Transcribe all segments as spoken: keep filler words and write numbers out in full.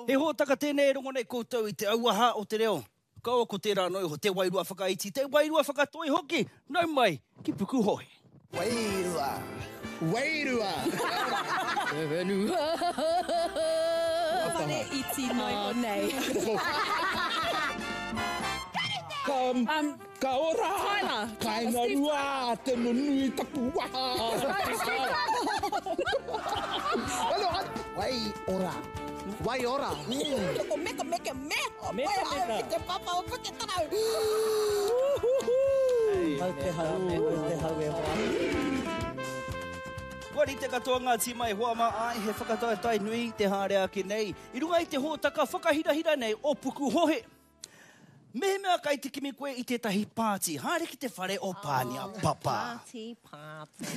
He hōtaka tēnei e rongo nei koutou i te auaha o te reo. Kaua ko tērā noa iho, te wairua whakaiti, te wairua whakatoi hoki. Nau mai ki Pukuhohe. Wairua! Wairua! Te whenua! Whare iti noa iho nei. Ka, ka ora! Tyler! Kainga rua, te nunui taku waha! Wai ora. Wai ora. Ko meka meka me. Meka meka. Ki te papa o Puketarau. Mau te hau, mau te hau e hoa. Kua rite katoa ngā tīma e hoa mā, āe, he whakataetae nui te haere ake nei i runga i te hōtaka whakahirahira nei o Pukuhohe. Mehemea kai te kimi koe i tētahi pāti, haere ki te whare o Pānia Papa. Pāti, pāti.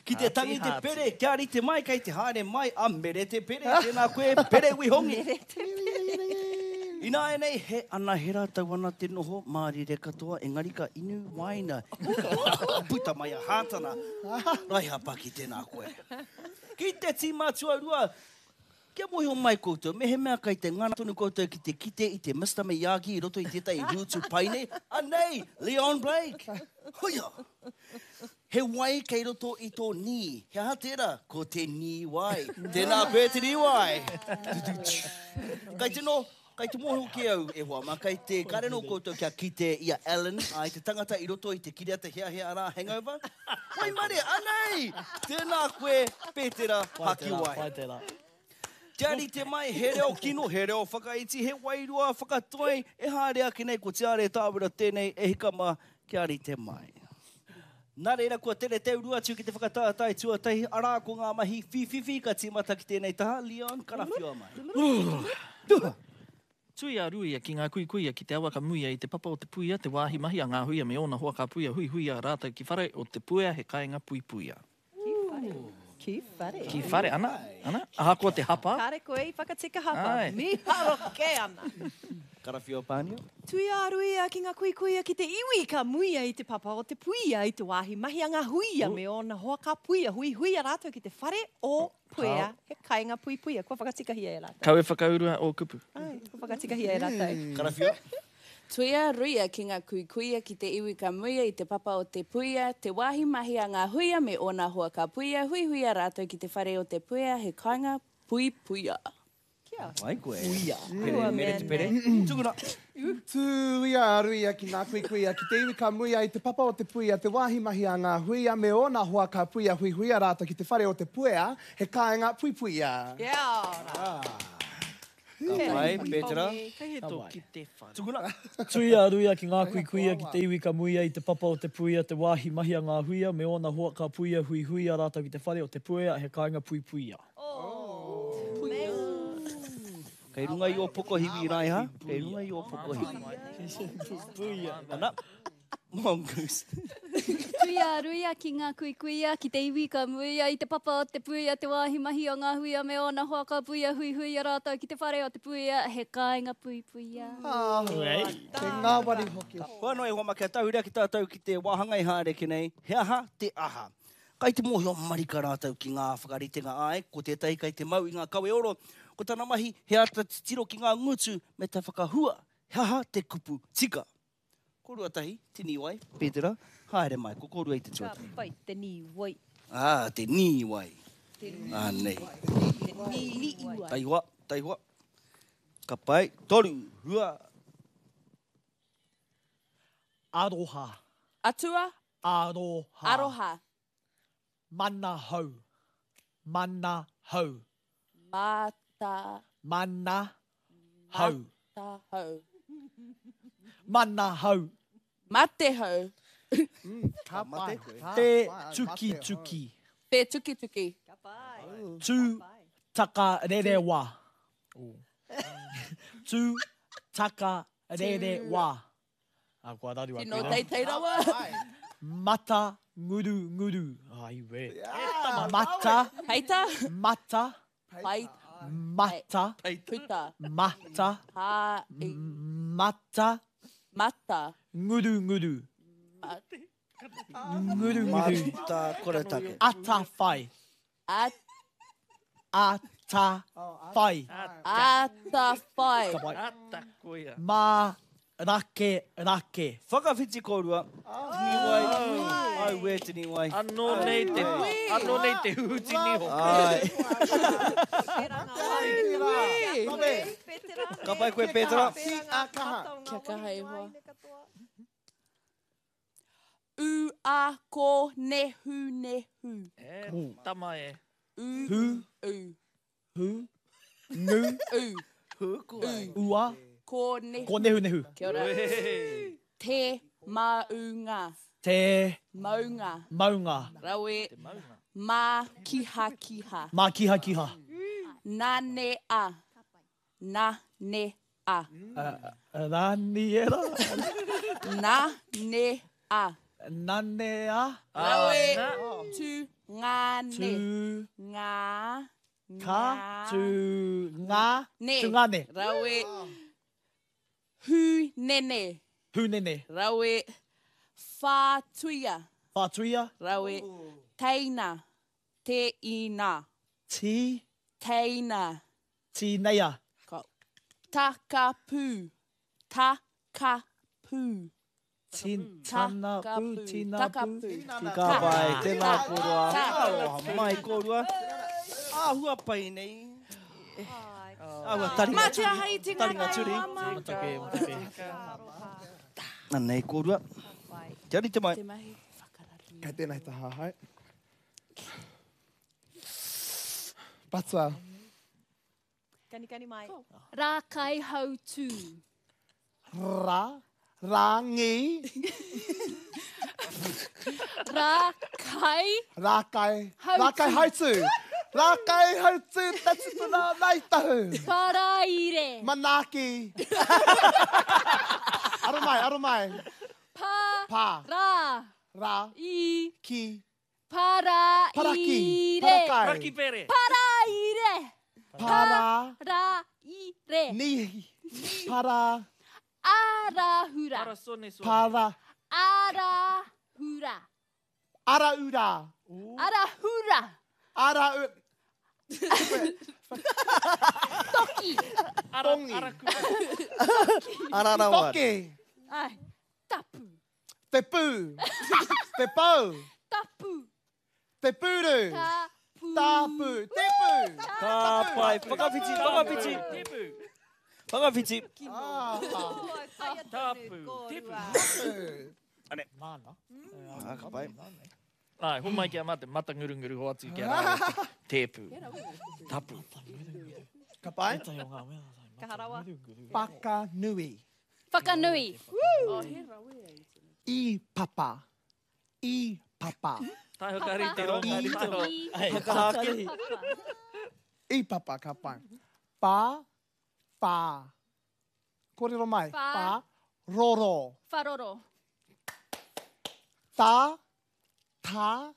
Ki te tangi te pere, kia rite mai kei te haere mai a Mere te Pere. Tēnā koe, Pere Wihongi. Mere te Pere. Ināianei, he anahera tau ana te noho mārire katoa, engari ka inu waina. Puta mai a Hātana. Raiha Paki, tēnā koe. Ki te tīma tuarua, kia mōhio mai koutou, mehemea kai te ngana tonu koutou ki te kite i te Mister Miyagi i roto i tētahi hūtu pai nei, anei, Leon Blake. Hoia! He wai kei roto i tō nī. He aha tērā? Ko te nī wai. Tēnā koe te nī wai. Kai te no, kai te mōhio ki au e hoa mā, kai te kare nō koutou kia kite i a Alan, ai te tangata i roto i te kiriata heahea arā Hangover. Waimarie, anei! Tēnā koe, Petera Hakiwai. Pai tērā. Kia rite mai, he reo kino, he reo whakaiti, he wairua whakatoi, e haere ake nei ko Tiare Tāwera tēnei e hika mā, kia rite mai. Nā reira, kua tere te uru atu ki te whakataetae tuatahi, arā ko ngā mahi whīwhiwhi ka tīmata ki tēnei taha, Leon, karawhiua mai. Tuia ruia ki ngā kuikuia ki te awa ka muia i te papa o te puia, te wāhi mahi a ngā huia me ōna hoa ka puia huihuia rātou ki whare o te puea he kāinga puipuia. Ki whare. Ki whare. Ki whare, ana, ana, ahakoa te hapa. Kāre koe i whakatika hapa. Ai. Miharo kē ana. Karawhiua Pānia. Tuia ruia ki ngā kuikuia ki te iwi ka muia i te papa o te puia i te wāhi mahi a ngā huia me ōna hoa ka puia huihuia rātou ki te whare o Puea, he kāinga puipuia. Kua whakatikahia e rātou. Kau e whakaurua ō kupu. Ai, kua whakatikahia e rātou. Karawhiua. Tuia ruia ki ngā kuikuia ki te iwi ka muia i te papa o te puia, te wāhi mahi a ngā huia me ōna hoa ka puia, huihuia rātou ki te whare o te puea, he kāinga puipuia. Kia. Pai koe. Puia. Pere, mere te pere. Tukuna. Tuia ruia ki ngā kuikuia ki te iwi ka muia i te papa o te puia, te wāhi mahi a ngā huia me ōna hoa ka puia huihuia rātou ki te whare o te puea, he kāinga puipuia. Kia ora. Ka pai, Petera. Kei he tō ki te whare. Tukuna. Tuia ruia ki ngā kuikuia ki te iwi ka muia i te papa o te puia, te wāhi mahi a ngā huia me ōna hoa ka puia huihuia rātou ki te whare o te puea, he kāinga puipuia. Kei runga i o pokohiwi, Raiha. Kei runga i o pokohiwi. Puia. Ana. Mongoose. Tuia ruia ki ngā kuikuia, ki te iwi ka muia i te papa o te puia, te wāhi mahi o ngā huia me ōna hoa ka puia huihuia rātou ki te whare o te puia, he kāinga puipuia. Ah, te ngāwari hoki. Kua noa e hoa mā, kia tahuria ki tātou ki te wāhanga i haere ki nei, he aha te aha. Kai te mōhio marika rātou ki ngā whakaritenga ai, ko tētahi kai te mau i ngā kawe oro, ko tana mahi he āta titiro ki ngā ngutu me te whakahua, he aha te kupu tika. Ko Ruatahi, te nīwai, Petera, haere mai, ko kōrua i te Ka tuatahi. pai te nīwai. Ah, te nīwai. Te Anei. Te nīwai. Taihoa, taihoa. Ka pai, toru, rua. Aroha. Atua. Aroha. Aroha. Mana hau. Mana hau. Mata. Mana hau. Mata hau. Mana hau. Mate hau. Ka pai. Te tukituki. Te tukituki. Ka pai. Tu takarerewa. Tu takarerewa. Ah, kua raru Tino aku. teitei rawa. Mata nguru nguru. Ai we. Mata. Peita. Mata. Pai. Mata. Puta. Mata. Ha. I. Mata. Mata. Nguru nguru. Nguru nguru. Mata koretake. Atawhai. At. Ata whai. Ata whai. Ata koia. Ma rake rake. Whakawhiti kōrua. Tini wai. Ai wē tini wai. Anō nei te, anō nei te huhuti niho. Ai. Ka pai koe, Petra. Kia kaha e hoa. U a ko nehu nehu. E, tama e. U. Hu. U. Hu. Nu. U. Hu koe. Ua. Ko nehu. Ko nehu nehu. Kia ora. Te maunga. Te. Maunga. Maunga. Rawe. Ma kiha kiha. Ma kiha kiha. Na ne a. Na ne a. Raniera. Na ne a. Na ne a. Rawe. Tu ngā ne. Tu. Ngā. Ka. Tu ngā. Ne. Tu ngā ne. Rawe. Hu nene. Hu nene. Rawe. Whātuia. Whātuia. Rawe. Teina. Te ina. Ti. Teina. Tineia. Ka. Takapu. Takapu. Tana pu, tina pu. Ka pai, tēnā kōrua. Aroha mai kōrua. Āhua pai nei. Āhua taringa Matua hai te Taringa turi. Matake, matake. Anei kōrua. Kia rite mai. Te mahi whakararu. Kei tēnei taha hai. Patua. Kani kani mai. Rākai hautū. Ra. Rangi. Rākai. Rākai. Hautū. Rākai hautū. Rākai hautū te tupuna nei tahu. Paraire. Manaaki. Aro mai, aro mai. Pa. Pa. Ra. Ra. I. Ki. Paraire. Paraki. Parakai. Paraki pere. Paraire. Para. Paraire. Ni. Para. Arahura. Parasone sone. Para. Arahura. Araura. Arahura. Ara... Toki. Tongi. Ararawa. Toki. Ai. Tapu. Te pū. Te pau. Tapu. Te pūru. Tapu. Tapu. Te pū. Ka pai. Whakawhiti, whakawhiti. Tepu. Whakawhiti. Tapu. Tepu. Ane. Mana. Ah, ka pai. Ai, ho mai kia mate, mata ngurunguru ho atu kia rā. Tepu. Tapu. Ka pai? Kaha rawa. Whakanui. Whakanui. I papa. I papa. Tai hokari te ronga. I Tai ho. I. Whakahake. Papa. I papa, ka pai. Pa. Pa. Kōrero mai. Pa. Pa. Roro. Wharoro. Ta. Ta.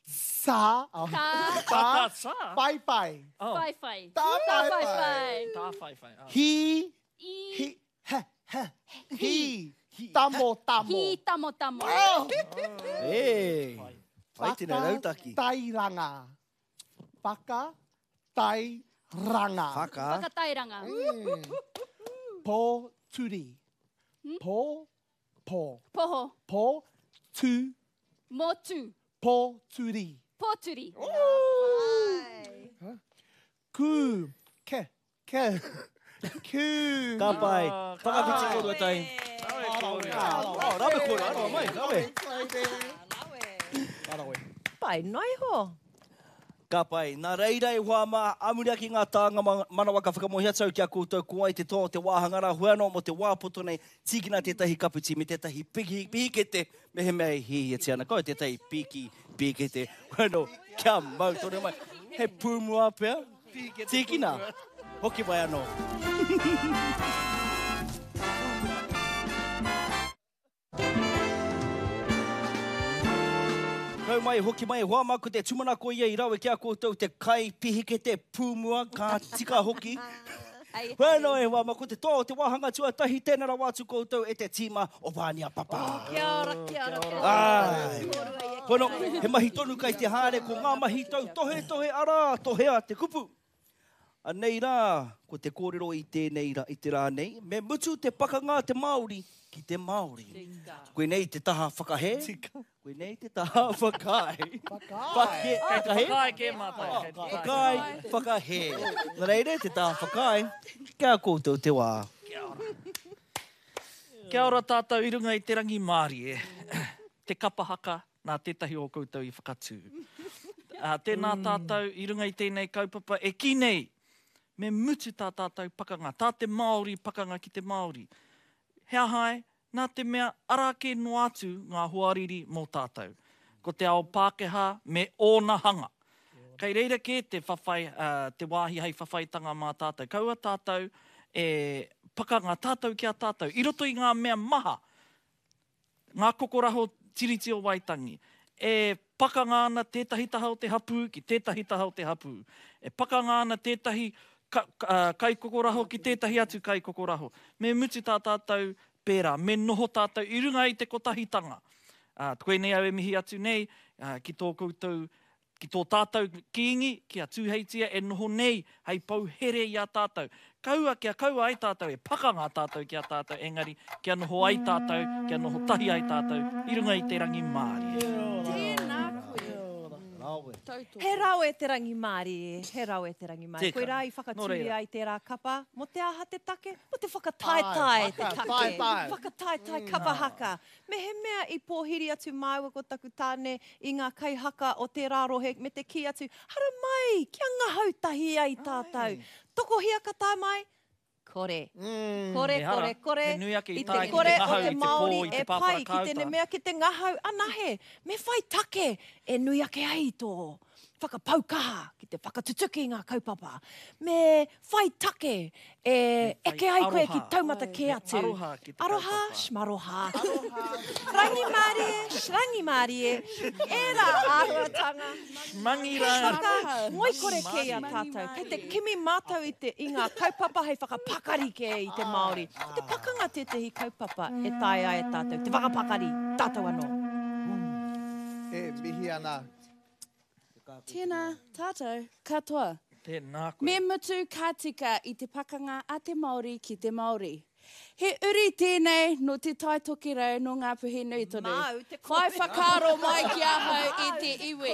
Sa. Oh. Ta. Ta. Ta sa. Pai pai. Oh. Whai whai. Ta Ta pai whai pai. whai. Ta whai whai. Ah. Hi. I. Hi. He. He. Hi. Tamo tamo. Hi tamo tamo. Oh. E. Pai tēnei rautaki. Tairanga. Whaka. Tairanga. Whaka. Whakatairanga. Po turi. Po. Po. Poho. Po. Tu. Motu. Po turi. Pōturi. Ku. Ke. Ke. Ku. Ka pai. Whakawhiti kōrua tai. Oh, rawe kōrua. Aroha mai, rawe. Pai, noi ho. Ka pai. Nā reira e hoa mā, amuria ki ngā tānga manawa ka whakamohi atu au ki a koutou ko ai te toa o te wāhanga rā hua anō mo te wā poto nei, tīkina tētahi kaputi me tētahi piki, pīkete, me he mea e hihiatia ana, kau tētahi piki, pīkete, hua anō, kia mau tonu mai. He pūmua pea, tīkina, hoki mai anō. Kau mai, hoki mai, hoa mā, ko te tūmanako ia i rawe ki a koutou te kai pihikete pūmua, ka tika hoki. Bueno, e hoa mā, ko te toa o te wāhanga tuatahi, tēnā rawa atu koutou e te tīma o Pānia Papa. Kia ora, kia ora, kia ora. Ai. Kōrua ia Kono, he mahi tonu kai te haere, ko ngā mahi tau tohe tohe arā, tohea te kupu. Anei rā, ko te kōrero i tēnei rā, i te rā nei, me mutu te pakanga te Māori ki te Māori. Koinei te taha whakahē, koinei te taha whakaae. Whakaae. Kei te whakaae kē mātou. Whakaae, whakahē. Nā reira, te taha whakaae, kia koutou te wā. Kia ora. Kia ora tātou i runga i te rangimārie. Te kapa haka nā tētahi o koutou i whakatū. Tēnā tātou i runga i tēnei kaupapa e kī nei, me mutu tā tātou pakanga, tā te Māori pakanga ki te Māori. He aha ai, nā te mea arā kē noa atu ngā hoariri mō tātou. Ko te ao Pākehā me ōna hanga. Kei reira kē te whawhai, te wāhi hei whawhaitanga mā tātou. Kaua tātou e pakanga tātou ki a tātou. I roto i ngā mea maha, ngā kokoraho Tiriti o Waitangi, e pakanga ana tētahi taha o te hapū ki tētahi taha o te hapū. E pakanga ana tētahi kaikokoraho ki tētahi atu kaikokoraho. Me mutu tā tātou pērā, me noho tātou i runga i te kotahitanga. Koinei au e mihi atu nei ki tō koutou, ki tō tātou kīngi, ki a Tūheitia e noho nei hei pou here i a tātou. Kaua kia kaua ai tātou, e pakanga tātou ki a tātou, engari kia noho ai tātou, kia noho tahi ai tātou i runga i te rangimārie. Tēnā koe. He rawe te rangimārie, he rawe te rangimārie. Koe rā i whakatūria ai tērā kapa, mō te aha te take, mō te whakataetae te take. Whakataetae kapa haka. Me he mea i pōhiri atu māua ko taku tāne i ngā kaihaka o tērā rohe me te kī atu, haramai, kia ngahau tahi ai tātou. Tokohia ka tae mai? Kore. Kore, kore, kore. I te kore o te Māori e pai ki tēnei mea ki te ngahau anahe. Me whai take e nui ake ai tō whakapau kaha ki te whakatutuki ngā kaupapa. Me whai take e eke ai koe ki taumata kē atu. Aroha, shmaroha. Rangimārie, shrangimārie. Ērā āhuatanga. Mangira. He whaka ngoikore kē i a tātou. Kei te kimi mātou i, te, i ngā kaupapa hei whakapakari kē i te Māori. Ko te pakanga tētehi kaupapa e taea e tātou. Te whakapakari, tātou anō. E mihi ana. Tēnā, tātou, katoa. Tēnā koe. Me mutu ka tika i te pakanga a te Māori ki te Māori. He uri tēnei no te Tai Tokerau no Ngāpuhi nui tonu. Māu te Whai kōrero. whakaaro mai ki ahau e te iwi.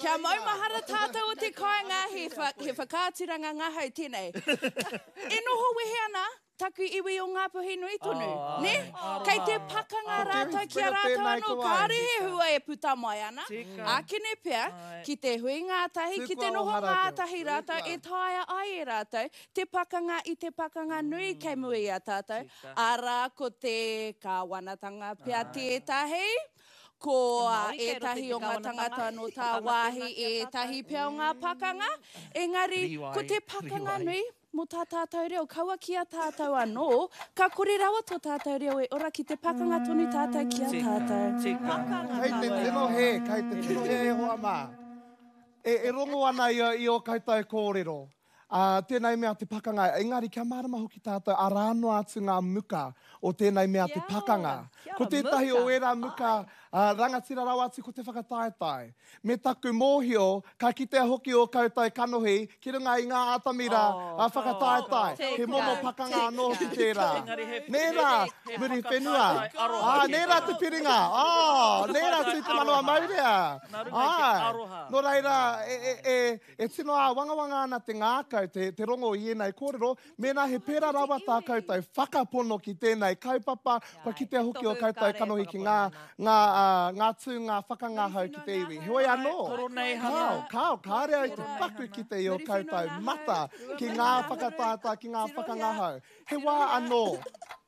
Kia maumahara tātou o te kāinga he, wha, he whakaaturanga ngahau tēnei. E noho wehe ana taku iwi o Ngāpuhi nui tonu. Oh, ne? Kei te pakanga rātou ki a rātou anō, kāre he hua e puta mai ana. Ākene pea, ki te hui ngātahi, ki te noho ngātahi rātou, e taea ai e rātou, te pakanga i te pakanga nui kei mua i a tātou. Arā, ko te kāwanatanga pea tētahi, ko ētahi o ngā tangata no tā wāhi, ētahi pea o ngā pakanga. Engari, ko te pakanga nui, mō tā tātou reo, kaua ki a tātou anō, ka kore rawa tō tātou reo e ora ki te pakanga tonu tātou ki a tātou. Kei te tino he, kei te tino he e hoa mā. E, e rongo ana i, i o koutou kōrero. Uh, tēnei mea te pakanga, engari kia mārama hoki tātou, arā noa atu ngā muka o tēnei mea te pakanga. Ko tētahi o ērā muka, uh, rangatira rawa atu ko te whakataetae. Me taku mōhio, ka kitea hoki o koutou kanohi ki runga i ngā atamira oh, uh, whakataetae. Oh, he momo pakanga anō hoki tērā. Nē rā, muri whenua. Ah, nē rā te piringa. Ah, nē rā tū te manawa maurea. Ai, nō reira, e, e, e, e tino āwangawanga ana te ngākau, te, te rongo i ēnei kōrero, mēnā he pērā rawa tā koutou whakapono ki tēnei kaupapa, kua kitea hoki o koutou kanohi ki ngā, ngā, uh, ngā tū, ngā whakangahau ki te iwi. Heoi anō, kao, kao, kāre au te paku ki te i o koutou mata, ki ngā whakatātā, ki ngā whakangahau. He wā anō,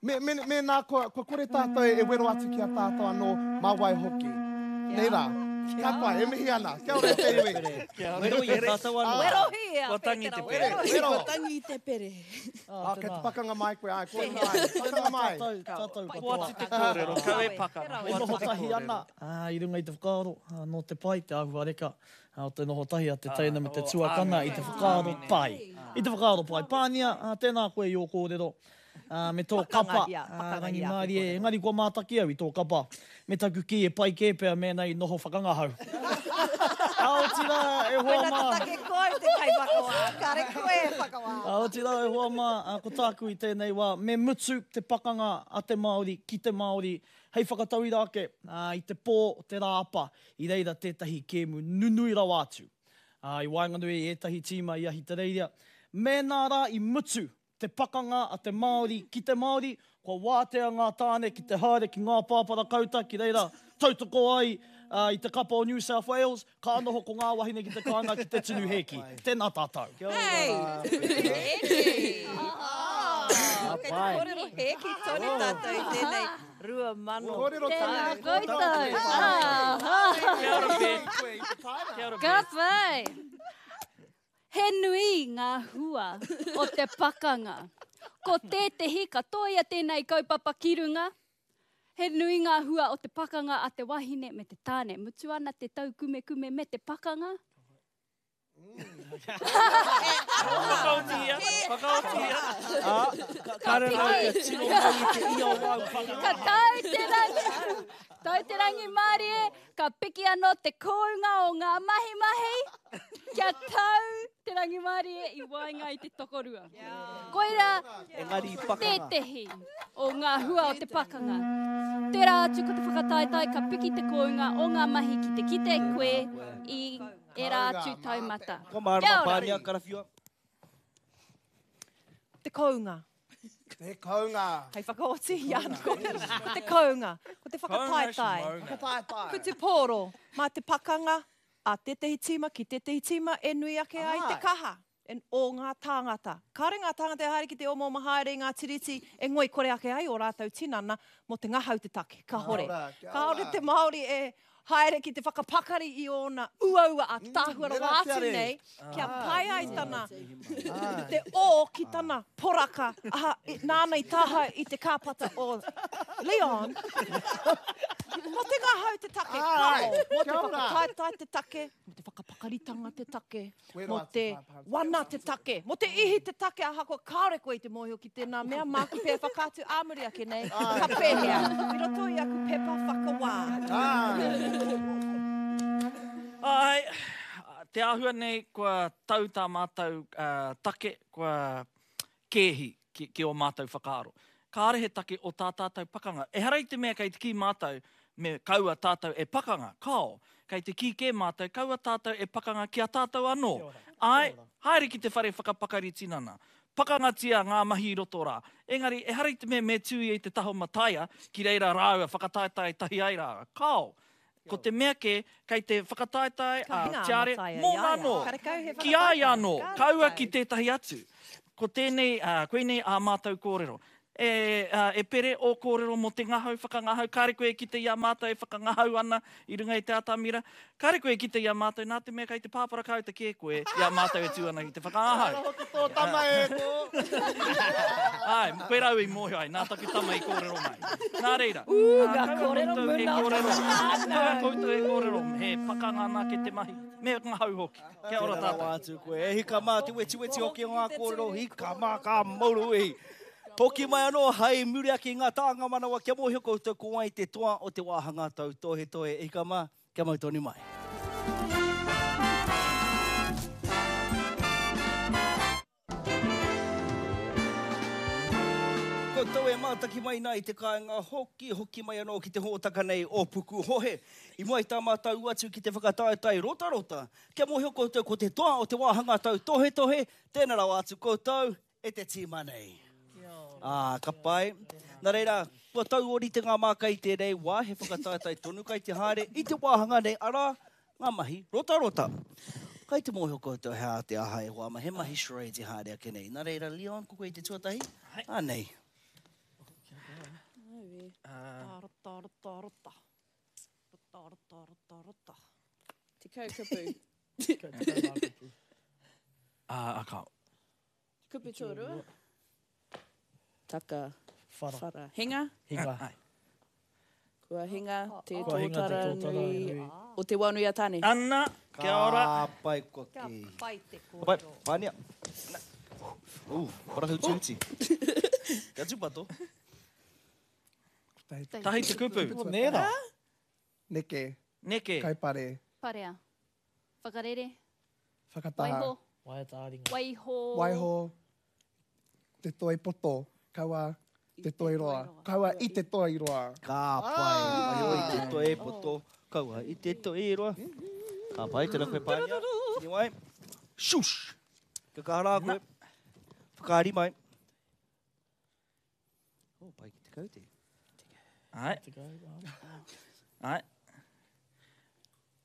me, me, mēnā kua, kua kore tātou e wero atu ki a tātou anō, mā wai hoki. Nei rā. Ka pai, e mihi ana. Kia ora te iwi. Wero i a tātou anō. Wero hi a Kua tangi te pere. Wero. Kua tangi te pere. Ah, kei te pakanga mai koe, ai, kua mai. Pakanga mai. Tātou katoa. Kua atu te kōrero, kau e pakanga. E noho tahi ana, i runga i te whakaaro, nō te pai, te āhuareka, o te noho tahi a te teina me te tuakana i te whakaaro pai. I te whakaaro pai. Pānia, tēnā koe i ō kōrero. Uh, me tō kapa, uh, rangimārie, engari kua mātaki au i tō kapa. Me taku ki e pai kē pea mēnā i noho whakangahau. A otirā, e hoa mā. Koina te take koe te kai whakawā, kare koe e whakawā. A otirā, e hoa mā, ko tāku i tēnei wā, me mutu te pakanga a te Māori ki te Māori, hei whakatauira ake uh, i te pō o te rāapa, i reira tētahi kēmu nunui rawa atu. Uh, i waenganui i ētahi tīma i Ahitereiria. Mēnā rā i mutu te pakanga a te Māori ki te Māori, kua wātea ngā tāne ki te haere ki ngā pāpara kauta ki reira tautoko ai uh, i te kapa o New South Wales, ka noho ko ngā wahine ki te kāinga ki te tunu hēki. Tēnā tātou. Hei! Hēki! Kei te kōrero hēki tonu tātou i tēnei rua mano. Kōrero Tēnā koutou. Kia ora, Beth. Kia ora, Ka Beth. pai. He nui ngā hua o te pakanga. Ko tētehi ka toia tēnei kaupapa ki runga. He nui ngā hua o te pakanga a te wahine me te tāne. Mutu ana te taukumekume me te pakanga. Whakaotia, whakaotia. Ah, ka rere au kia tino mau i te ia o wau pakanga. Ka tau te rangi, tau te rangi mārie, ka piki anō te kōunga o ngā mahi mahi, kia tau te rangi mārie i waenga i te tokorua. Koira Engari pakanga. tētehi o ngā hua o te pakanga. Tērā atu ko te whakataetae ka piki te kōunga o ngā mahi ki te kite koe i era atu taumata. Kua mārama Kia ora. pānia, karawhiua. Te kounga. Te kounga. Hei whakaoti i ana kōrero. Ko te kounga. Ko te whakataetae. Whakataetae. Ko te pōro. Mā te pakanga a tētehi tīma ki tētehi tīma e nui ake ai te kaha en o ngā tāngata. Kāre ngā tāngata e haere ki te omaoma haere i ngā tiriti e ngoi kore ake ai o rātou tinana mō te ngahau te take. Ka hore. Kia ora, kia Kāore ora. te Māori e haere ki te whakapakari i ōna uaua a tāhua rawa atu nei, kia pai ai tana te o ki tana poraka, aha, i, nāna i taha i te kāpata o Leon. Mō te ngahau te take, Ai, kao, mō te kia ora. whakataetae te take, mō te whakapakaritanga te take, Wero mō atu te whāpāns. wana te take, mō te ihi te take, ahakoa kāore koe i te mōhio ki tēnā mea, māku pea whakaatu āmuri ake nei, ka pēhea, i roto i aku pepa whakawā. Ai, te āhua nei kua tau tā mātou uh, take, kua kēhi ki, ki o mātou whakaaro. Kāre he take o tā tātou pakanga. Ehara i te mea kei te kī mātou, me kaua tātou e pakanga, kao. Kei te kī kē mātou, kaua tātou e pakanga ki a tātou anō. Ai, haere ki te whare whakapakari tinana. Pakangatia ngā mahi i roto rā. Engari, ehara i te mea me tū i te taho mataia, ki reira rāua, whakataetae tahi ai rāua. Kao. Ko te mea kē, kei te whakataetae Ka a hinga a Tiare, Mataia i mōna a ia. anō. Karekau he Ki a ia anō, whakataetae. kaua ki Karekau. tētahi atu. Ko tēnei, uh, koinei ā mātou kōrero. E, uh, e pere o kōrero mō te ngahau whakangahau, kāre koe ki te i a mātou e whakangahau ana i runga i te atamira. Kāre koe ki te i a mātou, nā te mea kei te pāpara kauta kē koe i a mātou e tū ana ki te whakangahau. Hoki tō tama e tō. Ai, koe rau i mōhio ai, nā taku tama i kōrero mai. Nā reira. Ū, ā, ngā kaua kōrero koutou e muna. kōrero. Kaua koutou e kōrero, he pakanga anake te mahi. Me ngahau hoki. Kia ora Tēnā tātou. rawa atu koe. E hika mā, te wetiweti hoki o ngā kōrero, hika mā, ka mauru e. Hoki mai anō, hei muri ake i ngā tānga manawa, kia mōhio koutou ko wai te toa o te wāhanga tau tohe tohe. E hika mā, kia mau tonu mai. Koutou e mātaki mai nā i te kāinga hoki, hoki mai anō ki te hōtaka nei o Pukuhohe. I mua i tā mātou atu ki te whakataetae rotarota. Kia mōhio koutou ko te toa o te wāhanga tau tohe tohe, tēnā rawa atu koutou e te tīma nei. Ah, ka pai. Nā reira, kua tau ori te ngā māka i tēnei wā, he whakataetae tonu kai te haere i te wāhanga nei, arā, ngā mahi rotarota. Kai te mōhio koutou he a te aha e hoa ma, he mahi charades e haere ake nei. Nā reira, Leon, ko koe i te tuatahi? Anei. Rota, rota, rota. Rota, rota, rota, rota. Tekau kupu. Ah, a kao. Kupu tōrua. Taka. Whara. Whara. Hinga. Hinga. Ai. Kua hinga te Kua hinga te tōtara tōtara nui nui. o te wānui a Tāne. Anna, kia ora. Ka pai kua Kia ki. pai te Ka pai, kōrero. pānia. Ū, ora huti huti. Kia tūpato. Tahi te kupu. Nē rā. Neke. Neke. Kaipare. Parea. Whakarere. Whakataha. Waiho. Waiata ā-ringa. Waiho. Waiho. Te toi poto. Kaua te toi roa. Kaua i te toi roa. Ka pai. Waiho i te toi poto. Kaua i te toi roa. Ka pai, tēnā koe Pānia. Tini wai. Shush! Ka kaha rā koe. Whakaari mai. Oh, pai ki te kaute. Ai. Ai.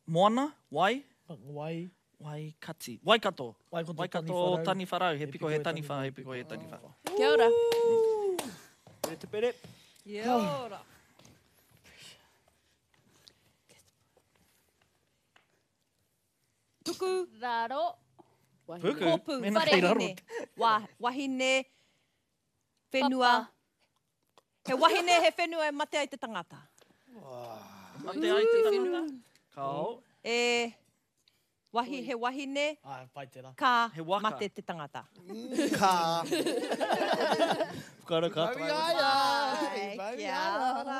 Moana, wai? Wai. Waikati. Waikato. Waikato, Waikato Taniwharau. He piko he taniwha, he piko he taniwha. Kia ora. Pere te pere. Kia ora. Tuku. Raro. Puku. Kopu. Mena kei raro. Wahine. Wa, wahine. Whenua. He wahine, he whenua e mate ai te tangata. Mate ai te tangata. Kao. E, wahi, he wahine, Ah, pai tērā. ka He waka. mate te tangata. Ka. Whakaara ka Mau i a ia. Mau i Kia a ora.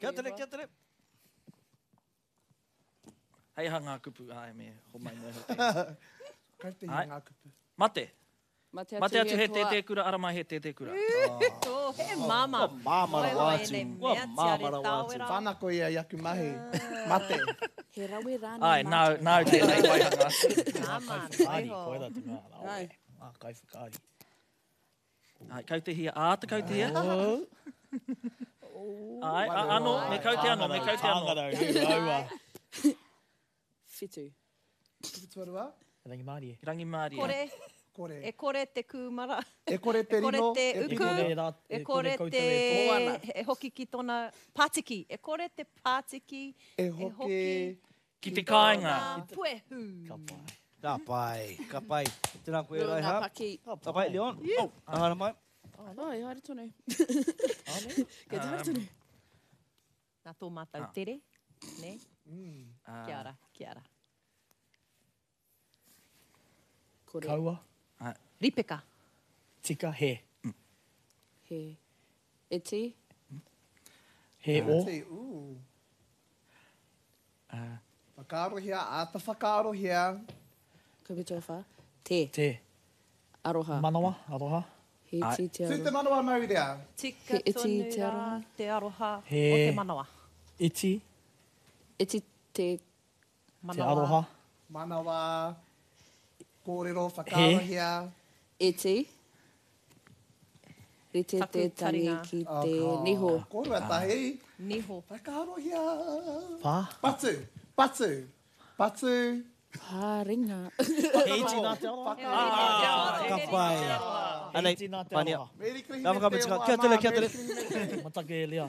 Kia tere, kia tere. Hei aha ngā kupu. Ai, me homai moe hoki. Kau te Ai. ngā kupu. Mate. Mate Mate atu he toa. tētē kura, ara mai he tētē kura. Oh, he māmā. Kua māmā rawa Wai atu. wai Kua nei mea māmā tiare rawa atu. tāwera. Whanako ia i aku mahi. Mate. He rawe rānei. Ai, nāu, nāu tēnei waihanga. Māmā, Whakaari, waiho. koira te mea. Rawe. Ai. Ngā kai whakaari. Ai, kautehia, ā te kautehia. Ai, a, ano, me kaute ano, me kaute ano. Tāngarau, raua. Whitu. Kupu tuarua. Rangimārie. Rangimārie. Kore, Kore. e kore te kūmara. E kore te E kore rino. te e uku. kore rā- E kore koutou te... e Moana. E hoki ki tōna pātiki. E kore te pātiki. E hoki. Ki te kāinga. Tōna puehu. Ka pai. Ka pai, ka pai. Tēnā koe Rua ngā Raiha. paki. Ka pai, Leon. Oh, haere mai. Oh, e haere tonu. Kei te haere tonu. Nā tō mātou Ah. tere. Ne? Ah. Kia ora, kia ora. Kore. Kaua, Ripeka. tika, he. He. Iti. He o. Te, ū. Whakaarohia, āta whakaarohia. Kupu tuawhā. Te. Te. Aroha. Manawa, aroha. He iti te Tū te aroha. manawa maurea. Tika He iti tonu te rā aroha. te aroha He. o te manawa. Iti, Iti te te Manawa. aroha. Manawa. Kōrero, whakaarohia. iti. Rite Taku te tangi taringa. ki Oh, te ka. niho. Kōrua tahi. Niho. Whakaarohia. Pā. Patu. Patu. Patu. Pāringa. He iti nā te aroha. Ka pai. He Anei, iti nā te Pānia. aroha. Merry Christmas. Ngā whakamutunga. Kia tere, kia tere. Matake e Lea.